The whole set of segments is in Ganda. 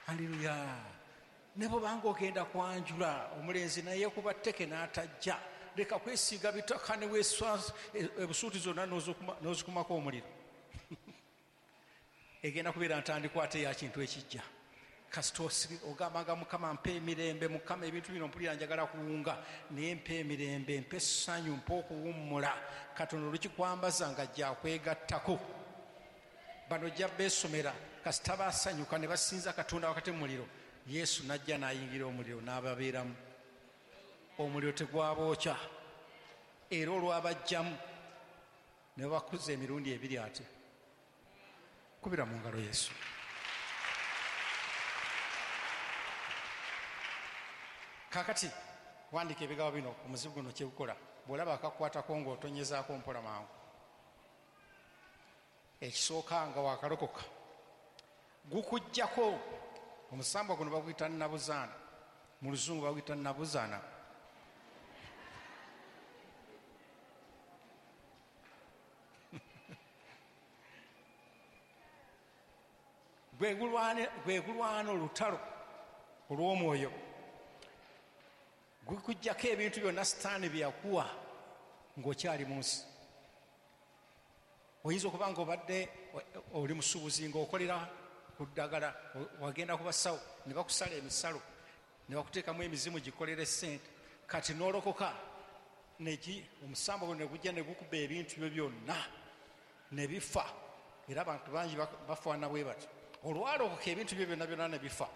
Haleluya. Ne bwobanga ogenda kwanjula omulenzi naye kuba tteke n'atajja, leka kwesiiga bitaka ne weeswa ebusuuti zonna n'ozikumako omuliro. Egenda kubeera ntandikwa ate ya kintu ekijja. Kasita ogambanga Mukama mpa emirembe, Mukama ebintu bino mpulira njagala kuwunga, naye mpa emirembe, mpa essanyu, mpa okuwummula. Katonda olukikwambaza nga ajja akwegattako. Bano ojja beesomera, kasita basanyuka ne basinza Katonda wakati mu muliro, Yesu n'ajja n'ayingira omuliro n'ababeeramu. Omuliro tegwabookya, era olwabajjamu ne bakuza emirundi ebiri ate. Kubira mu ngalo Yesu. Kaakati wandiika ebigambo bino omuzibu guno kye gukola. Bw'olaba akakukwatako ng'otonyezaako mpola mangu. Ekisooka nga wakalokoka gukuggyako omusambwa guno baguyita nabuzaana, mu luzungu baguyita nabuzaana. Gwe gulwana olutalo olw'omwoyo, gukuggyako ebintu byonna Sitaani bye yakuwa ng'okyali mu nsi. Oyinza okuba ng'obadde oli musuubuzi ng'okolera ku ddagala, wagenda ku basawo ne bakusala emisalo ne bakuteekamu emizimu gikolere ssente, kati n'olokoka omusambo guno ne gujja ne gukuba ebintu byo byonna ne bifa. Era abantu bangi bafaanana bwe batyo, olwalokoka ebintu byo byonna byonna ne bifa.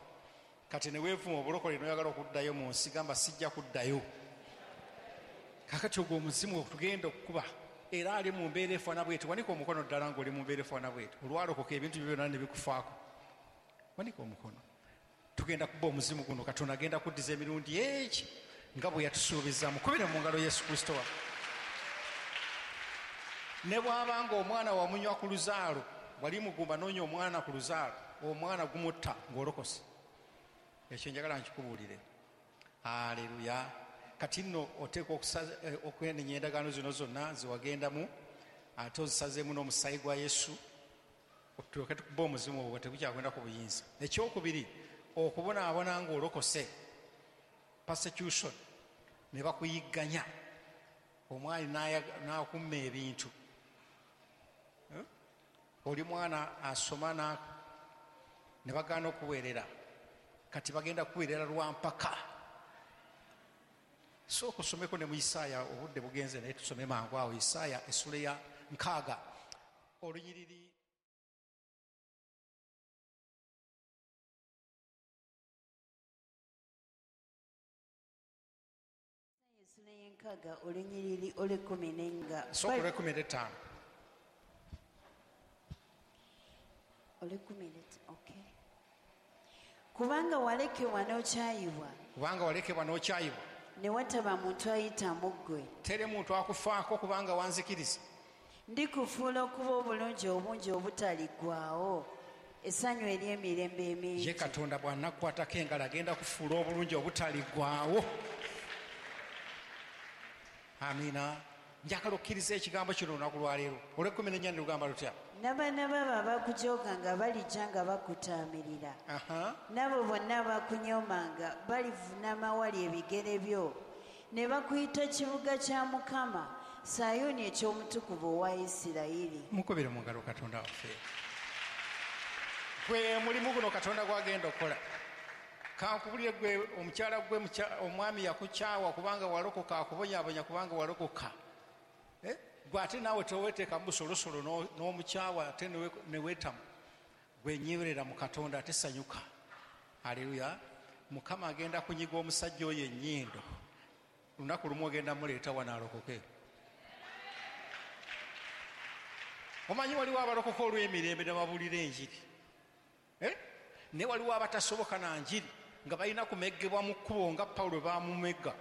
Kati ne weevuma obulokole n'oyagala okuddayo mu nsi, gamba sijja kuddayo. Kaakati ogwo omuzimu tugenda okukuba, era ali mu mbeera efaanana bw'eti. Wanika omukono ddala ng'oli mu mbeera efaanana bw'eti, olwalokoka ebintu byo byonna ne bikufaako. Wanika omukono. Tugenda kuba omuzimu guno, Katonda agenda kuddiza emirundi egi nga bwe yatusuubiza. Mukubire mu ngalo Yesu Kristo waffe. Ne bw'aba ng'omwana wamunywa ku luzaalo, wali mugumba n'onywa omwana ku luzaalo, omwana gumutta ng'olokose. Ekyo njagala nkikubuulire. Haleluya. Kati nno oteekwa okwenenya endagaano zino zonna ze wagendamu, ate ozisazeemu n'omusaayi gwa Yesu, otuuke tukuba omuzimu ogwo tegukyagenda ku buyinza. Ekyokubiri, okubonaabona ng'olokose, persecution, ne bakuyigganya, omwali n'akumma ebintu. Oli mwana asoma ne bagaana okuweerera, kati bagenda kuweerera lwa mpaka. Sooka osomeko ne mu Isaaya, obudde bugenze naye tusome mangu awo. Isaaya essula ya 6 olunyiriri essula y'enkaaga olunyiriri olw'ekkumi n'enga. Sooka olw'ekkumi n'ettaano. Olw'ekkumi n'ettaano, okay. Kubanga walekebwa n'okyayibwa. Kubanga walekebwa n'okyayibwa. Ne wataba muntu ayita mu ggwe. Teri muntu akufaako kubanga wanzikiriza. Ndikufuula okuba obulungi obungi obutaliggwaawo, essanyu ery'emirembe emingi. Ye Katonda bw'anakukwatako engalo agenda kufuula obulungi obutaliggwaawo. Amiina. Njagala okkiriza ekigambo kino olunaku lwaleero. Olw'ekkumi n'ennya ne lugamba lutya? N'abaana babo abakujooga balijja nga bakutaamirira. N'abo bonna abakunyoomanga balivunama awali ebigere byo, ne bakuyita kibuga kya Mukama, Sayuuni eky'omutukuvu owa Isirayiri. Mukubire mu ngalo Katonda waffe. Gwe mulimu guno Katonda gw'agenda okukola. Kankubulire gwe omukyala gwe omwami yakukyawa kubanga walokoka, akubonyaabonya kubanga walokoka. Gwe ate naawe teweeteeka mu busolosolo n'omukyawa ate ne weetamu. Gwe nnywerera mu Katonda ate sanyuka. Haleluya. Mukama agenda kunyiga omusajja oyo ennyindo. Lunaku lumu ogenda muleeta wano alokoke. Omanyi waliwo abalokoka olw'emirembe ne babuulira enjiri. Ne waliwo abatasoboka na njiri nga balina kumeggebwa mu kkubo nga Pawulo baamumegga.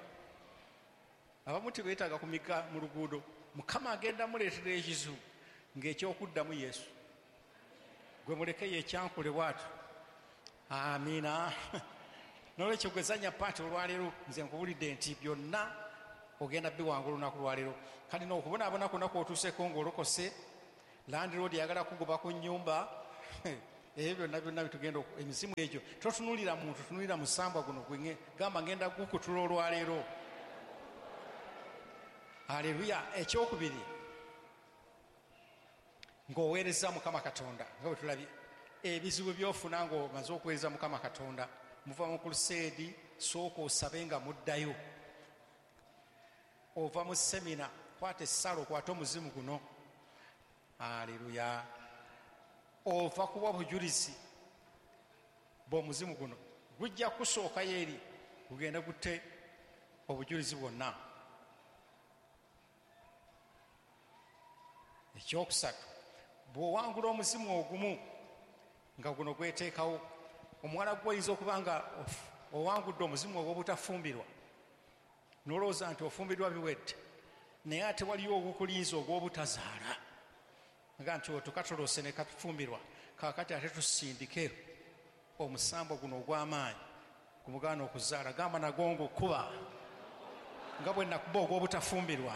Abamu tebeetaaga kumigga mu luguudo. Mukama agenda muleetera ekizibu ng'ekyokuddamu Yesu. Gwe muleke yekyankule bw'atyo. Amiina. N'olwekyo gwe zannya paati olwaleero, nze nkubulidde nti byonna ogenda biwangula olunaku lwaleero. Kati n'okubonaabona kwonna kw'otuuseeko ng'olokose, landlord ayagala kugoba ku nnyumba. Ebyo byonna byonna bitugenda emizimu egyo totunuulira muntu, tunuulira musambwa guno gwe gamba ngenda gukutula olwaleero. Haleluya. Ekyokubiri, ng'oweereza Mukama Katonda, nga bwe tulabye ebizibu by'ofuna ng'omaze okuweereza Mukama Katonda. Muva mu kuluseedi, sooka osabe nga muddayo. Ova mu semina, kwata essala okwate omuzimu guno. Haleluya. Ova kuwa bujulizi bw'omuzimu guno, gujja kusookayo eri gugende gutte obujulizi bwonna. Ekyokusatu, bw'owangula omuzimu ogumu nga guno gweteekawo, omuwala gwoyinza okuba nga owangudde omuzimu ogw'obutafumbirwa, n'olowooza nti ofumbirwa biwedde, naye ate waliyo ogukulinza ogw'obutazaala, nga nti otukatolose ne katufumbirwa, kaakati ate tusindike omusambo guno ogw'amaanyi gumugaana okuzaala. Gamba nagwo ngukuba, nga bwe nakuba ogw'obutafumbirwa,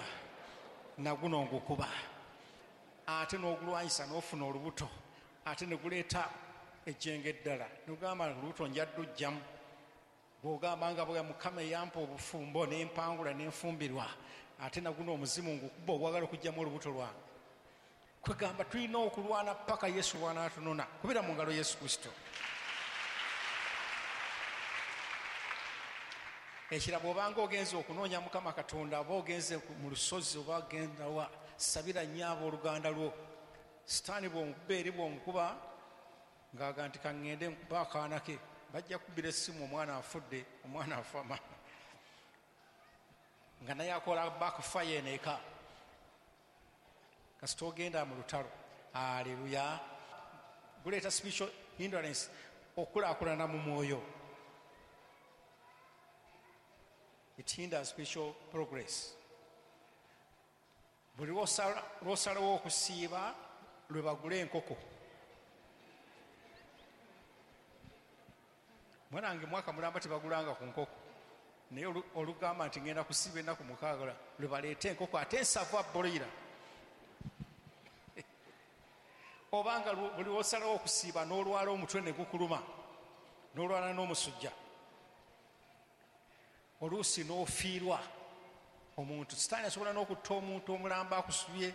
naguno ngukuba. Ate n'ogulwanyisa n'ofuna olubuto, ate ne guleeta ejjengo eddala, n'ogamba olubuto nja ddujjamu. Bw'ogamba nga bwe Mukama eyampa obufumbo n'empangula n'enfumbirwa, ate naguno omuzimu ngukuba ogwagala okuggyamu olubuto lwange. Kwegamba tulina okulwana paka Yesu bw'anaatunona. Kubira mu ngalo Yesu Kristo. Ekirabo obanga ogenze okunoonya Mukama Katonda, oba ogenze mu lusozi, oba ogenda wa, sabira nnyo abooluganda lwo. Sitaani bw'omukuba eri bw'omukuba ng'aga nti kaŋŋende nkuba akaana ke, bajja kubbira essimu, omwana afudde, omwana afa, nga naye akola backfire eno eka. Kasita ogenda mu lutalo. Haleluya. Guleeta spiritual hindrance, okukulaakulana mu mwoyo. It hinders spiritual progress. Buli lw'osalawo okusiiba lwe bagula enkoko. Mwanange mwaka mulamba tebagulanga ku nkoko, naye olugamba nti ngenda kusiiba ennaku 6 lwe baleeta enkoko ate ensavu abboyira. Obanga buli lw'osalawo okusiiba n'olwala omutwe ne gukuluma, n'olwala n'omusujja, oluusi n'ofiirwa omuntu. Sitaani asobola n'okutta omuntu omulamba akusubye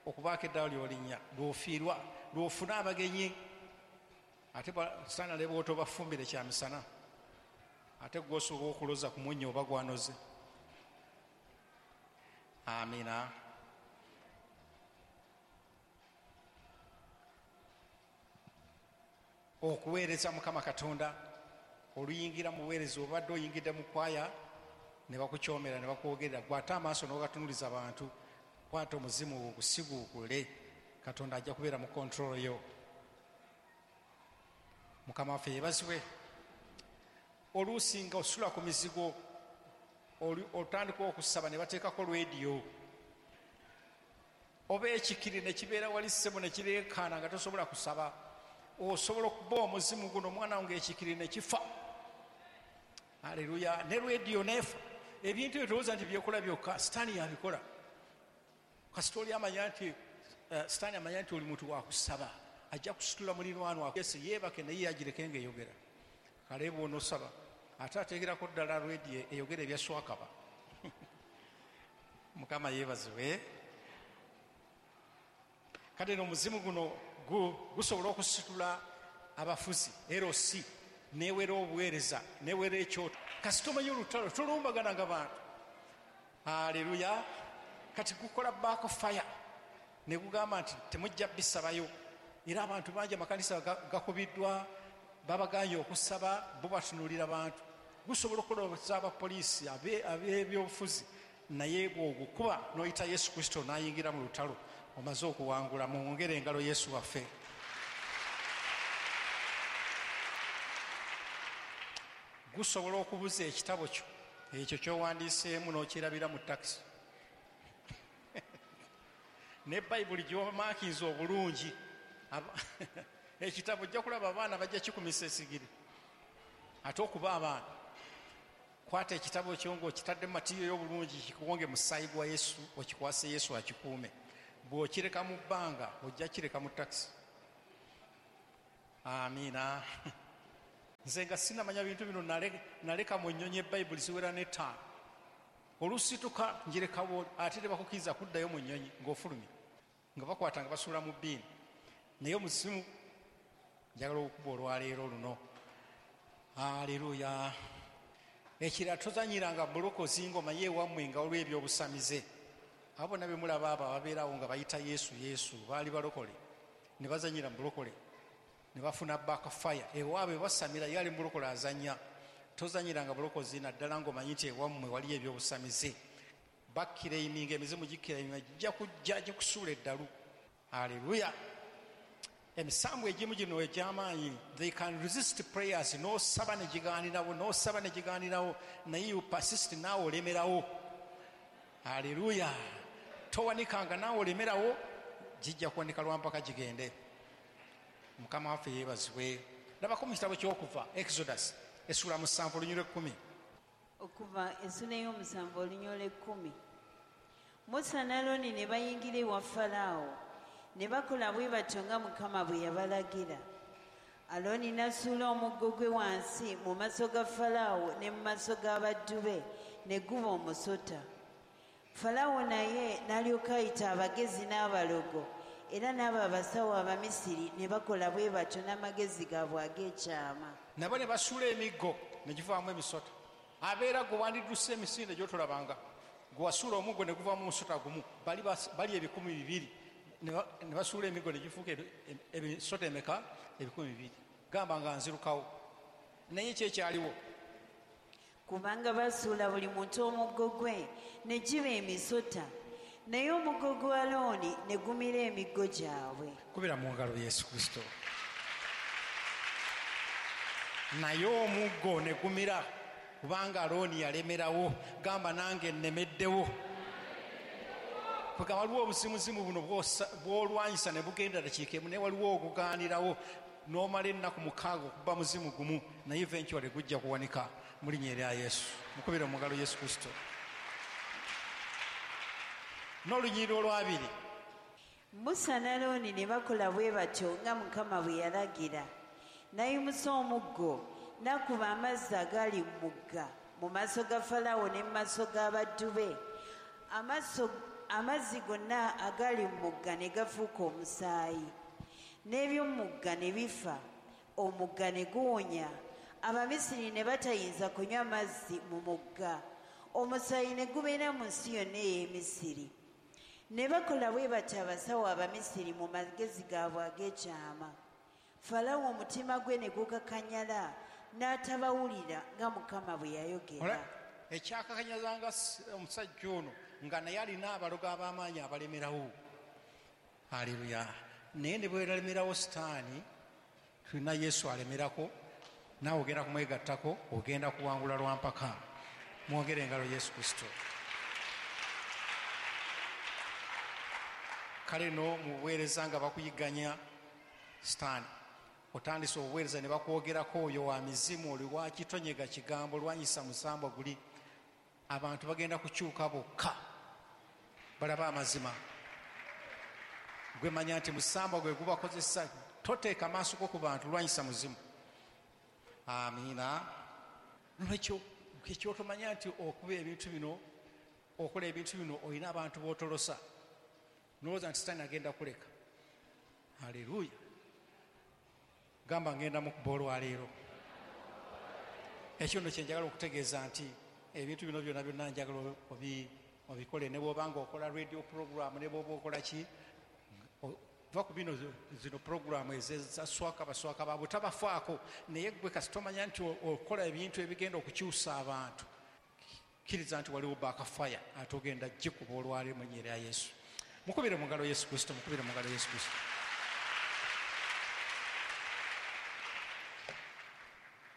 okubaako eddala ly'olinnya, lw'ofiirwa, lw'ofuna abagenyi. Ate sitaani aleba otobafumbire kyamisana, ate gw'osooka okuloza ku munnyo oba gwanoze. Amina. Okuweereza Mukama Katonda, oluyingira mu buweereza, obadde oyingidde mu kwaya ne bakukyomera ne bakwogerera, gwe ate amaaso n'ogatunuliza abantu, kwata omuzimu ogusiguukule, Katonda ajja kubeera mu control yo. Mukama waffe yeebazibwe. Oluusi nga osula ku mizigo, otandika okusaba ne bateekako rediyo, oba ekikiri ne kibeera wali ssebo ne kireekaana nga tosobola kusaba. Osobola okuba omuzimu guno omwana wange ekikiri ne kifa. Haleluya. Ne rediyo neefa. Ebintu ebyo tolowooza nti byekola byokka, Sitaani yabikola. Kasita oli amanya nti Sitaani amanya nti oli muntu wa kusaba, ajja kusitula muliraanwa Yesu yeebake naye yagireke ng'eyogera. Kale bw'onosaba ate ateekerako ddala rediyo eyogera ebya swakaba. Mukama yeebazibwe. Kale no omuzimu guno gusobola okusitula abafuzi LC newera obuweereza newera ekyoto. Kasita omanyi olutalo tolumbagananga bantu. Haleluya. Kati gukola backfire ne gugamba nti temujja bisabayo. Era abantu bangi amakanisa gakubiddwa, babaganye okusaba, bo batunuulira bantu. Gusobola okukolesa abapoliisi ab'ebyobufuzi, naye bw'ogukuba n'oyita Yesu Kristo n'ayingira mu lutalo, omaze okuwangula. Mwongere engalo Yesu waffe. Gusobola okubuza ekitabo kyo ekyo ky'owandiiseemu n'okirabira mu takisi. Ne Bayibuli gy'omaakinze obulungi, ekitabo ojja kulaba abaana bajja kikumisa esigiri. Ate okuba abaana, kwata ekitabo kyo ng'okitadde mu matiyo y'obulungi, kikuwonge mu musaayi gwa Yesu, okikwase Yesu akikuume. Bw'okireka mu bbanga, ojja kireka mu takisi. Amiina. Nze nga sinamanya bintu bino, naleka mu nnyonyi ebayibuli ziwera n'ettaano. Olusituka njirekawo, ate tebakukkiriza kuddayo mu nnyonyi ng'ofulumye, nga bakwata nga basuula mu bbiini. Naye omuzimu njagala okukuba olwaleero luno. Aleluya. Ekirala, tozanyiranga bulokozi ng'omanyi ewammwe nga waliwo ebyobusamize. Abo bonna be mulaba abo ababeerawo nga bayita Yesu Yesu baali balokole, ne bazanyira mu bulokole ne bafuna backfire. Ewaabwe basamira, ye ali mu bulokole azannya. Tozanyiranga bulokozi naddala ng'omanyi nti ewammwe waliyo ebyobusamize. Bakkireiminga, emizimu gikkireiminga, gijja kujja gikusuula eddalu. Aleluya. Emisambu egimu gino egy'amaanyi, they can resist prayers. N'osaba ne gigaanirawo, n'osaba ne gigaanirawo, naye you persist, naawe olemerawo. Aleluya. Towanikanga, naawe olemerawo, gijja kuwanika lwampaka gigende. Mukama waffe yeebazibwe. Labako mu kitabo ky'Okuva, Exodus essula 7 olunyiriri 10. Okuva essula ey'omusanvu olunyiriri 10. Musa ne Alooni ne bayingira ewa Falaawo, ne bakola bwe batyo nga Mukama bwe yabalagira. Alooni n'asuula omuggo gwe wansi mu maaso ga Falaawo ne mu maaso g'abaddu be, ne guba omusota. Falaawo naye n'alyoka ayita abagezi n'abalogo, era n'abo abasawo Abamisiri ne bakola bwe batyo n'amagezi gaabwe ag'ekyama. Nabo ne basuula emiggo ne givaamu emisota. Abeera gwe wandidduse emisinde gy'otolabanga, gwe wasuula omuggo ne guvaamu omusota gumu, bali 2,000 ne basuula emiggo ne gifuuka emisota emeka? 2,000. Gamba nga nzirukawo. Naye ki ekyaliwo? Kubanga basuula buli muntu omuggo gwe ne giba emisota, naye omuggo gwa Alooni ne gumira emiggo gyabwe. Kubira mu ngalo Yesu Kristo. Naye omuggo ne gumira kubanga Alooni yalemerawo. Gamba nange nnemeddewo. Kubanga waliwo obuzimuzimu buno bw'olwanyisa ne bugenda dakiika emu, naye waliwo ogugaanirawo n'omala ennaku 6 okuba muzimu gumu, naye eventually gujja kuwanika mu linnya erya Yesu. Mukubire mu ngalo Yesu Kristo. N'olunyiriri olwabiri. Musa ne Alooni ne bakola bwe batyo nga Mukama bwe yalagira. N'ayimusa omuggo n'akuba amazzi agaali mu mugga mu maaso ga Falaawo ne mu maaso g'abaddu be. Amazzi gonna agaali mu mugga ne gafuuka omusaayi, n'eby'omugga ne bifa, omugga ne guwonya. Abamisiri ne batayinza kunywa mazzi mu mugga, omusaayi ne gubeera mu nsi yonna ey'Emisiri. Ne bakola bwe batyo abasawo Abamisiri mu magezi gaabwe ag'ekyama. Falaawo omutima gwe ne gukakanyala, n'atabawulira nga Mukama bwe yayogera. Ekyakakanyazanga omusajja ono nga naye alina abalogo ab'amaanyi abalemerawo. Aleluya. Naye ne bwe balemerawo Sitaani, tulina Yesu alemerako, naawe ogenda kumwegattako, ogenda kuwangula lwampaka. Mwongere engalo Yesu Kristo. Kale no mu buweereza nga bakuyigganya Sitaani, otandise obuweereza ne bakwogerako oyo wa mizimu, oli wa kitonyega kigambo, lwanyisa musambwa guli. Abantu bagenda kukyuka bokka balaba amazima. Gwe manya nti musambwa gwe gubakozesa, toteeka maaso go ku bantu, lwanyisa muzimu. Amiina. Nolwekyo ekyotomanya nti okuba ebintu bino, okola ebintu bino, olina abantu b'otolosa, nolowooza nti Sitaani agenda kuleka. Aleluya. Gamba ngenda mukuba olwaleero. Ekyo nno kye njagala okutegeeza nti ebintu bino byonna byonna njagala obikole, ne bw'oba ng'okola radio program, ne bw'oba okola ki, va ku bino zino program eza swaka baswaka baabwe tabafaako, naye gwe kasita omanya nti okola ebintu ebigenda okukyusa abantu, kkiriza nti waliwo backfire ate ogenda gikuba olwaleero mu linnya erya Yesu. Mukubire mu ngalo Yesu Kristo, mukubire mu ngalo Yesu Kristo.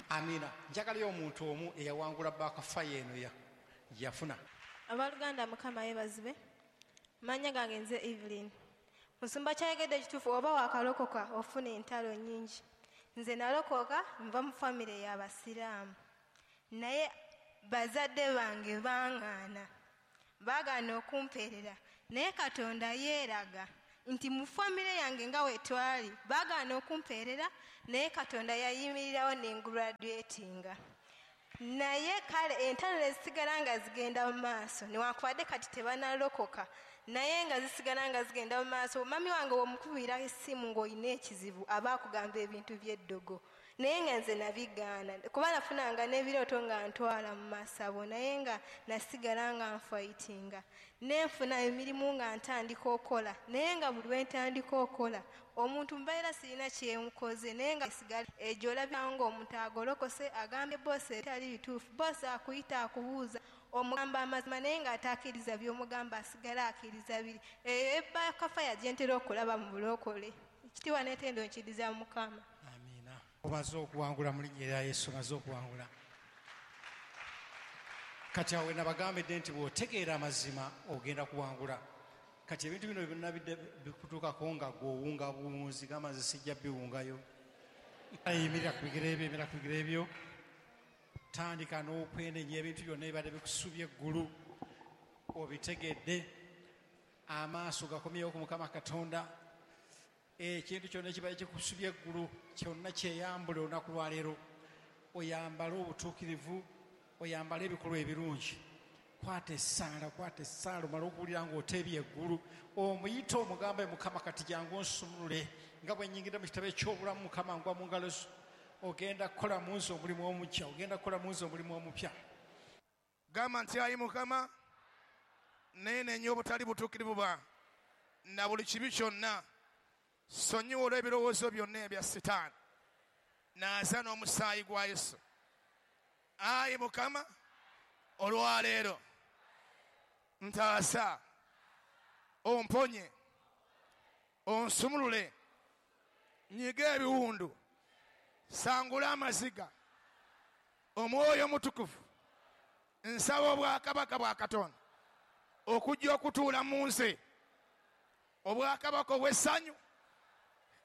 Amina. Njagalayo omuntu omu eyawangula backfire eno yafuna. Abooluganda, Mukama yeebazibwe. Mannya gange nze Evelyn. Musumba kyayogedde ekituufu, oba wakalokoka ofuna entalo nnyingi. Nze nalokoka nva mu famire y'Abasiraamu, naye bazadde bange baŋŋaana, baagaana okumpeerera, naye Katonda yeeraga Nti mu famire yange nga wetwali baagaana okumpeerera, naye Katonda yayimirirawo nengraduatinga. Naye kale entalo ne zisigala nga zigenda mu maaso, newankubadde kati tebanalokoka, naye nga zisigala nga zigenda mu maaso. Mami wange womukubira essimu ng'olina ekizibu aba akugamba ebintu by'eddogo, naye nga nze nabigaana kuba nafunanga n'ebirooto nga ntwala mu masabo, naye nga nasigala nga nfayitinga. Nenfuna emirimu nga ntandika okola, naye nga buli lwe ntandika okola omuntu mbeera sirina kyenkoze, naye nga sigala egyo olabira ng'omuntu agolokose agambye boosi etali bituufu. Boosi akuyita akubuuza omugamba amazima, naye ng'atakkiriza by'omugamba asigala akkiriza biri. Eyo ebakafaya gye ntera okulaba mu bulokole. Ekitiibwa n'ettendo nkiriza Mukama. Amiina. Omaze okuwangula mu linnya erya Yesu, omaze okuwangula. Kati awo nabagambidde nti bw'otegeera amazima ogenda kuwangula. Kati ebintu bino byonna bikutuukako nga gw'owunga buwunzi, gamba nze sijja biwungayo. Yimirira ku bigere ebyo, yimirira ku bigere ebyo. Tandika n'okwenenya ebintu byonna ebibadde bikusubye eggulu, obitegedde, amaaso gakomyewo ku Mukama Katonda. Ekintu kyonna ekibadde kikusubye eggulu kyonna kyeyambule olunaku lwaleero. Oyambale obutuukirivu, oyambale ebikolwa ebirungi. Kwata essaala, kwata essaala, omale okuwulira ng'oteebye eggulu. Omuyite omugambe, Mukama kati jangu onsumulule nga bwe nnyingidde mu kitabo eky'obulamu. Mukama ngwa mu ngalo zo. Ogenda kukola mu nze omulimu omupya, ogenda kukola mu nze omulimu omupya. Gamba nti ayi Mukama, neenenya obutali butuukirivu bwange na buli kibi kyonna, sonyiwa olw'ebirowoozo byonna ebya Sitaani, naaza n'omusaayi gwa Yesu. Ayi Mukama, olwaleero ntaasa, omponye, onsumulule, nyiga ebiwundu, sangula amaziga, omwoyo omutukuvu. Nsaba obwakabaka bwa Katonda okujja okutuula mu nze, obwakabaka obw'essanyu,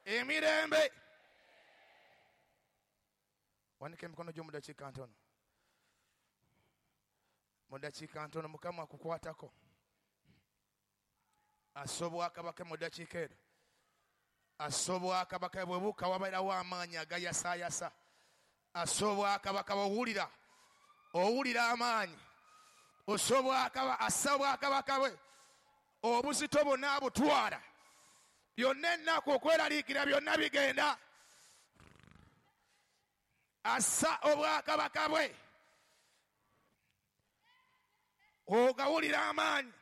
emirembe. Wanika emikono gyo mu dakiika ntono. Mu dakiika ntono Mukama akukwatako, assa obwakabaka mu dakiika ero. Assa obwakabaka bwe buka, wabeerawo amaanyi agayasaayasa. Assa obwakabaka bw'owulira, owulira amaanyi. Assa obwakabaka bwe, obuzito bwonna abutwala, byonna ennaku okweraliikira byonna bigenda. Assa obwakabaka bwe, ogawulira amaanyi.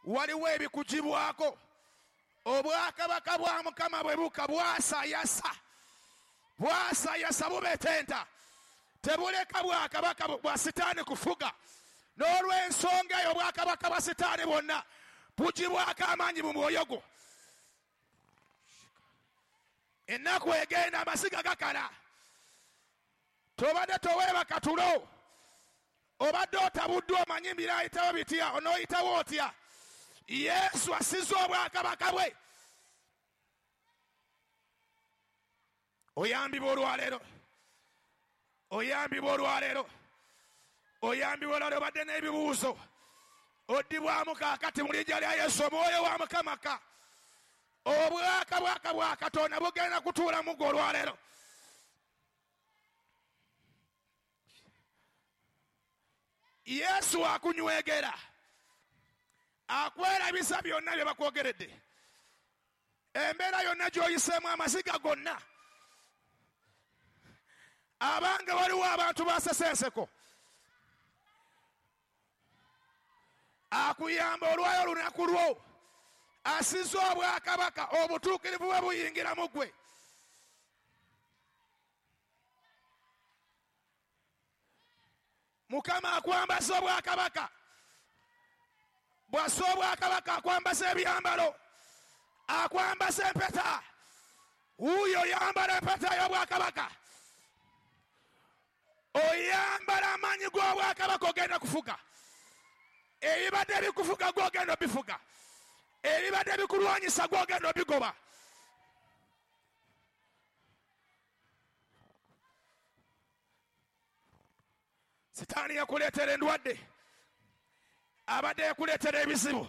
Waliwo ebikugibwako. Obwakabaka bwa Mukama bwe buka bwasayasa, bwasayasa, bubetenta, tebuleka bwakabaka bwa Sitaani kufuga. N'olw'ensonga eyo obwakabaka bwa Sitaani bwonna bugibwako amaanyi mu mwoyo gwo. Ennaku egenda, amasiga gakala. Tobadde toweebaka tulo, obadde otabuddwa, omanyi mbiraayitawo bitya, onooyitawo otya. Yesu asiza obwakabaka bwe. Oyambibwa olwaleero, oyambibwa olwaleero, oyambibwa olwaleero. Obadde n'ebibuuzo, oddibwamu kaakati mu linnya lya Yesu. Omwoyo wa Mukama ka obwakabaka bwa Katonda bugenda kutuula mu ggwe olwaleero. Yesu akunywegera, akwerabisa byonna bye bakwogeredde, embeera yonna gy'oyiseemu, amaziga gonna. Abange waliwo abantu basesenseko, akuyamba olwayo olunaku lwo. Asiza obwakabaka, obutuukirivu bwe buyingira mu ggwe. Mukama akwambaza obwakabaka. Bw'assa obwakabaka akwambaza ebyambalo, akwambaza empeta. Wuuyo oyambala empeta y'obwakabaka, oyambala amaanyi g'obwakabaka, ogenda kufuga. Ebibadde bikufuga gw'ogenda obifuga, ebibadde bikulwanyisa gw'ogenda obigoba. Sitaani yakuleetera endwadde, abadde yakuleetera ebizibu.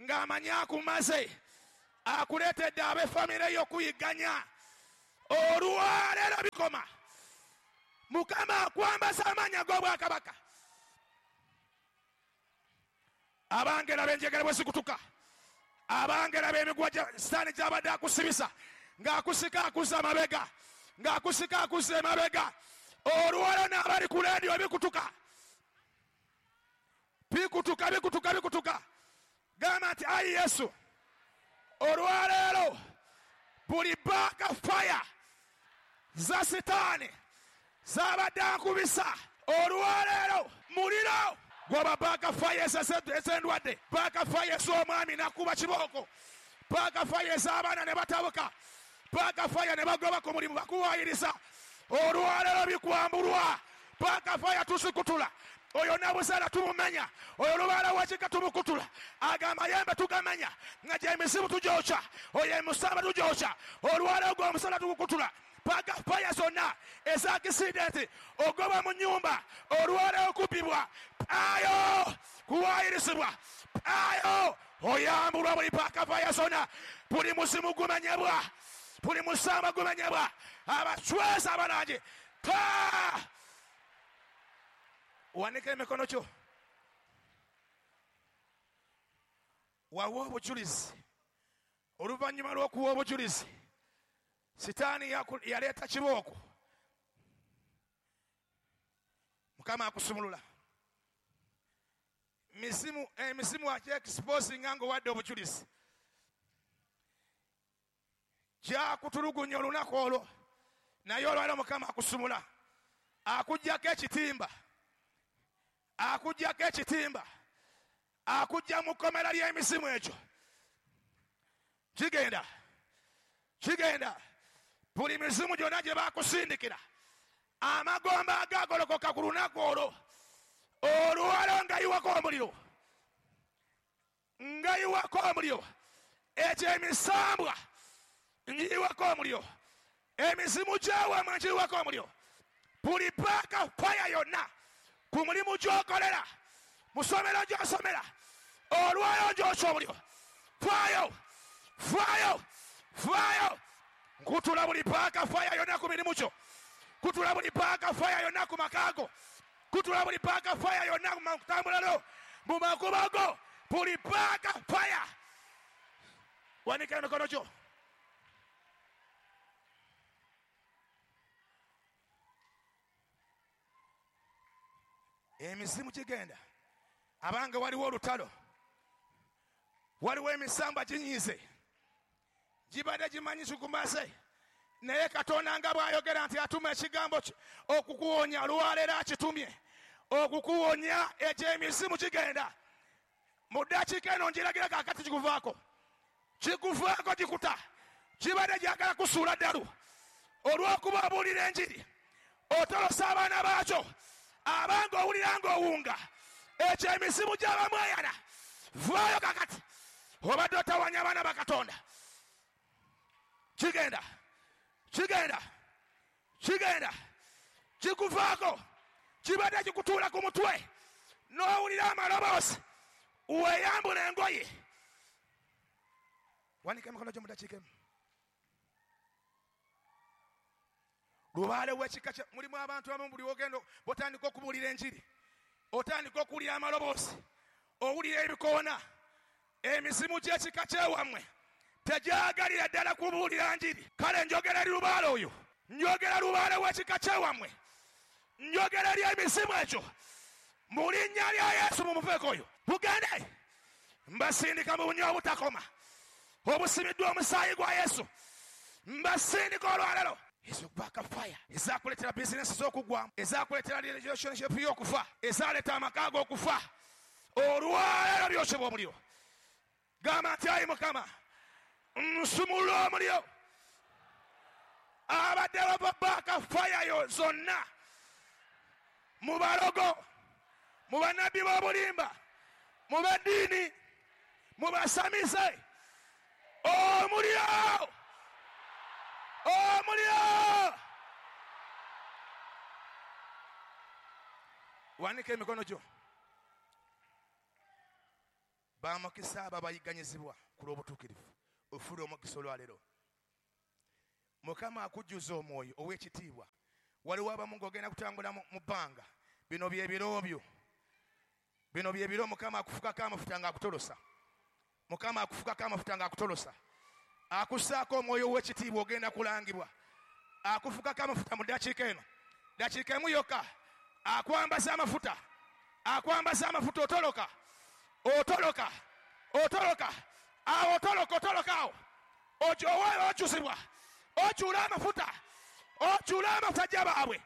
Ng'amanyi akumaze, akuleetedde ab'effamire yo okuyigganya. Olwaleero bikoma. Mukama akwambaza amaanyi ag'obwakabaka. Abangera b'enjegere bwe zikutuka, abangera b'emiguwa gya Sitaani gy'abadde akusibisa, ng'akusika akuzza amabega, ng'akusika akuzza emabega. Olwaleero n'abali ku leediyo bikutuka, bikutuka, bikutuka, bikutuka. Gamba nti ayi Yesu, olwaleero buli baaka faya za Sitaani z'abadde ankubisa, olwaleero muliro gwaba baaka faya ez'endwadde, baaka faya ez'omwami n'akuba kibooko, baaka faya ez'abaana ne batabuka, baaka faya ne bagoba ku mulimu bakuwaayiriza. Olwaleero bikwambulwa, baaka faya tuzikutula. Oyo nabuzaala tumumenya, oyo lubaala w'ekika tumukutula, ago amayembe tugamenya, nga gy'emizimu tugyokya, oyo emusamba tugyokya. Olwaleero gwe omusana tugukutula. Baaka faya zonna ez'akisidenti, ogoba mu nnyumba, olwaleero okubbibwa, ayo kuwaayirizibwa, ayo oyambulwa buli baaka faya zonna. Buli muzimu gumenyebwa, buli musamba gumenyebwa. Abacweza abalangi ta wanika emikono gyo, wawe obujulizi. Oluvannyuma lw'okuwa obujulizi, Sitaani yaleeta kibooko. Mukama akusumulula. Emizimu agyexposinga ng'owadde obujulizi, gyakutulugunya olunaku olwo, naye olwaleero Mukama akusumula, akuggyako ekitimba, akuggyako ekitimba, akujja mu kkomera ly'emizimu egyo. Kigenda, kigenda. Buli mizimu gyonna gye baakusindikira, amagomba agagolokoka ku lunaku olwo, olwaleero ngayiwako omuliro, ngayiwako omuliro. Ekyo emisambwa ngiyiwako omuliro, emizimu gy'ewamwe ngiyiwako omuliro. Buli baaka faya yonna ku mulimu gy'okolera, mu ssomero gy'osomera, olwaleero gyokya omuliro. Faayo, faayo, faayo. Nkutula buli baaka faya yonna ku mirimu gyo, kutula buli baaka faya yonna ku maka go, kutula buli baaka faya yonna mu kutambula lwo, mu makubo go, buli baaka faya. Wanika emikono gyo. Emizimu gigenda. Abange waliwo olutalo, waliwo emisamba ginyiize, gibadde gimanyi kikumaze, naye Katonda nga bw'ayogera nti atuma ekigambo okukuwonya, olwaleero akitumye okukuwonya. Egyo emizimu gigenda. Mu ddakiika eno njiragira kaakati kikuvaako, kikuvaako, gikuta. Kibadde gyagala kusuula ddalu olw'okuba obuulira enjiri, otolosa abaana baakyo. Abange owulira ng'owunga, ekyo emizimu gy'abamweyana, vaayo kakati. Obadde otawanya abaana ba Katonda. Kigenda, kigenda, kigenda, kikuvaako. Kibadde kikutuula ku mutwe n'owulira amaloboozi, weeyambula engoye. Wanika emikono gyo mu ddakiika emu. Lubaale w'ekika kya mulimu abantu abamu buli w'ogenda bw'otandika okubuulira enjiri, otandika okuwulira amaloboozi, owulira ebikoona. Emizimu gy'ekika kyewammwe tegyagalira ddala kubuulira njiri. Kale njogera eri lubaale oyo, njogera lubaale w'ekika kyewammwe, njogera eri emizimu egyo mu linnya lya Yesu. Mumuveeko oyo, mugende. Mbasindika mu bunywa obutakoma obusimiddwa omusaayi gwa Yesu. Mbasindika olwaleero. Ezo baaka fire ezakuleetera bizinesi z'okugwamu, ezakuleetera relationship y'okufa, ezaleeta amaka g'okufa, olwaleero byokebwa omuliro. Gamba nti ayi Mukama, nsumulula omuliro. Abadde bava baaka fire yo zonna mu balogo, mu bannabbi b'obulimba, mu b'eddiini, mu basamize, omuliro, omuliro. Wanika emikono gyo. Bamukisa abo abayigganyizibwa ku lw'obutuukirivu. Ofuna omukisa olwaleero. Mukama akujjuza omwoyo ow'ekitiibwa. Waliwo abamu ng'ogenda kutambula mu bbanga. Bino bye biro byo. Bino bye biro Mukama akufukako amafuta ng'akutolosa. Mukama akufukako amafuta ng'akutolosa. Akussaako omwoyo ow'ekitiibwa, ogenda kulangibwa. Akufukako amafuta mu ddakiika eno. Ddakiika emu yokka. Akwambaza amafuta. Akwambaza amafuta, otoloka. Otoloka. Otoloka. Awo otoloka, otoloka awo. Okyusibwa. Okyula amafuta. Okyula amafuta gy'abaabwe.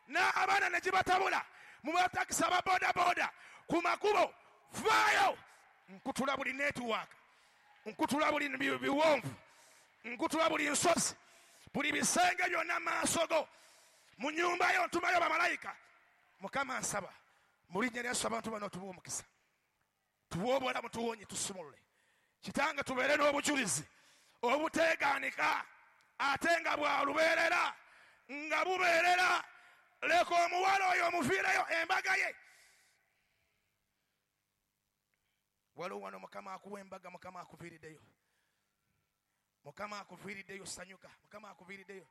N'abaana ne gibatabula. Mu batakisi aba bodaboda. Ku makubo. Vaayo. Nkutula buli network. Nkutula buli biwonvu. Nkutula buli nsozi. Buli bisenge byonna maaso go. Mu nnyumba yo ntumayo bamalayika. Mukama nsaba. Mu linnya lya Yesu abantu bano tubawe omukisa. Tuwe obulamu, tuwonye, tusumulule. Kitange tubeere n'obujulizi obuteegaanika ate nga bwa lubeerera, nga bubeerera. Leka omuwala oyo omuviireyo embaga ye. Waliwo wano Mukama akuwa embaga, Mukama akuviiriddeyo. Mukama akuviiriddeyo, sanyuka. Mukama akuviiriddeyo.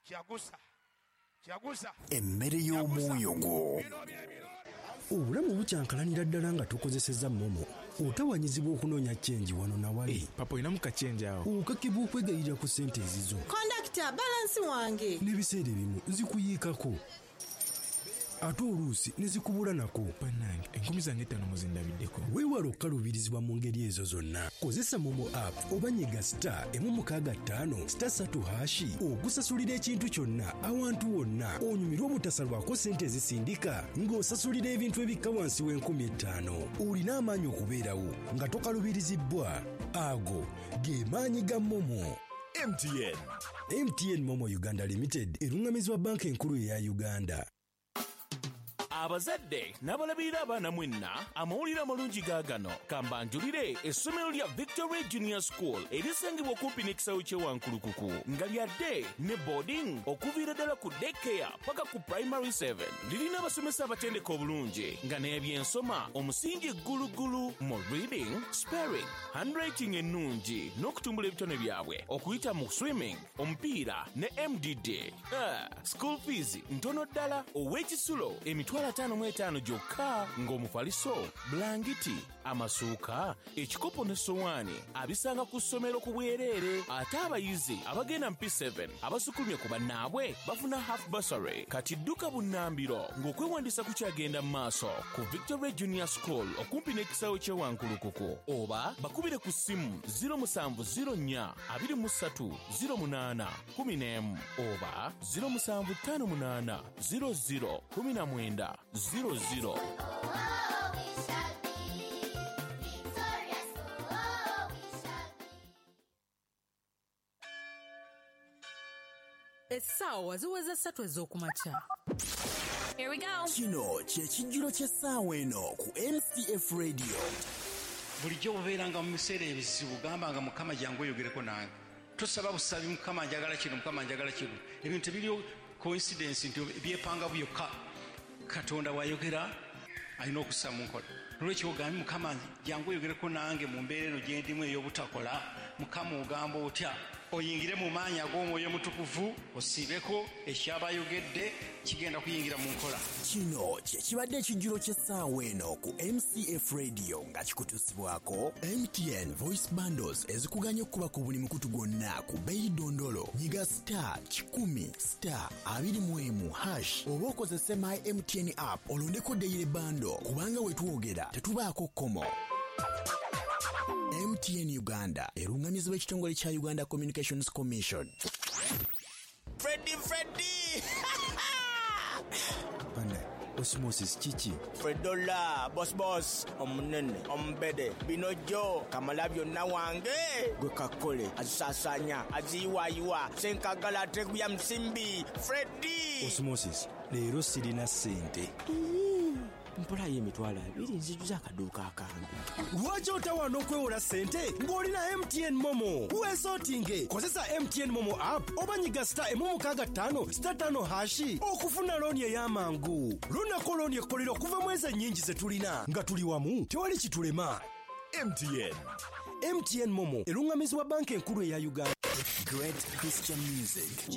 Kyagusa. Kyagusa. Emmere y'omwoyo gwo. Obulamu bukyankalanira ddala nga tukozesezza MoMo. Otawanyizibwa okunoonya change wano na wali. Papa olinamu ka change awo. Okakibwa okwegayirira ku ssente ezizo. Kondakita, balansi wange. N'ebiseera ebimu zikuyiikako. Ate oluusi ne zikubula nako. Bannange, 5,000 muzindabiddeko. Weewale okukaluubirizibwa mu ngeri ezo zonna. Kozesa MoMo app oba nyiga *165 *3# okusasulira ekintu kyonna awantu wonna. Onyumirwe obutasalwako ssente ezisindika ng'osasulira ebintu ebikka wansi w'en'kumi ttaano. Olina amaanyi okubeerawo nga tokaluubirizibbwa. Ago ge maanyi ga MoMo. MTN. MTN MoMo Uganda Limited eruŋŋamizibwa Banka Enkulu eya Uganda. Abazadde n'abalabirira abaana mwenna, amawulire amalungi gaagano. Kambanjulire essomero lya Victory Junior School erisangibwa okumpi n'ekisaawe ky'e Wankulukuku, nga lyadde ne boarding okuviira ddala ku daycare paka ku primary 7. Lirina abasomesa abatendeka obulungi nga n'ebyensoma omusingi ggulugulu mu reading, spelling, handwriting ennungi n'okutumbula ebitone byabwe okuyita mu swimming, omupiira ne MDD. School fees ntono ddala, ow'ekisulo 55,000 gyokka, ng'omufaliso, bulangiti, amasuuka, ekikopo n'essowaani abisanga ku ssomero ku bwereere. Ate abayizi abagenda mu P7 abasukulumye ku bannaabwe bafuna half bursary. Kati dduka bunnambiro ng'okwewandiisa kukyagenda mu maaso ku Victory Junior School okumpi n'ekisaawe ky'e Wankulukuku, oba bakubire ku ssimu 0704 23 08 11 oba 0758 00 19 00. Oh, we shall be victorious. Oh, we shall be. Essaawa ziweze 3 ez'okumakya. Here we go. Kino kye kijjulo ky'essaawa eno ku MCF Radio. Bulijjo obeeranga mu biseera ebizibu, gambanga Mukama jangu oyogereko nange. Tosaba busabi, Mukama njagala kino, Mukama njagala kino. Ebintu ebiriyo coincidence nti byepanga byokka. Katonda bw'ayogera alina okussa mu nkola. Olwekyo ogambe Mukama jangu oyogereko nange mu mbeera eno gye ndimu ey'obutakola. Mukama ogamba otya? Oyingire mu maanyi ag'Omwoyo Omutukuvu, osiibeko ekyabayogedde kigenda kuyingira mu nkola. Kino kye kibadde ekijjulo ky'essaawa eno ku MCF Radio nga kikutuusibwako MTN Voice Bundles ezikuganya okukuba ku buli mukutu gwonna ku bbeeyi ddondolo. Nyiga *100 *21# oba okozese My MTN app olondeko daily bundle, kubanga we twogera tetubaako kkomo. MTN Uganda eruŋŋamizibwa ekitongole kya Uganda Communications Commission. Freddy, Freddy! Bana, osmosis kiki? Fredola, boss boss, omunene, omubede, bino jo, kamala byonna wange. Gwe kakole, azisaasaanya, aziyiwaayiwa, senkagala ateguya musimbi. Freddy! Osmosis, leero sirina ssente. Mpolayo 20,000 nzijuza akaduuka akange. Lwaki otawaana okwewola ssente ng'olina MTN MoMo? Weesootinge, kozesa MTN MoMo app oba nyiga *165 *5# okufuna looni ey'amangu. Lonako looni ekkolera okuva mu ezo ennyingi ze tulina. Nga tuli wamu, tewali kitulema. MTN. MTN Momo erungamizibwa banka enkulu eya Uganda. Great Christian music.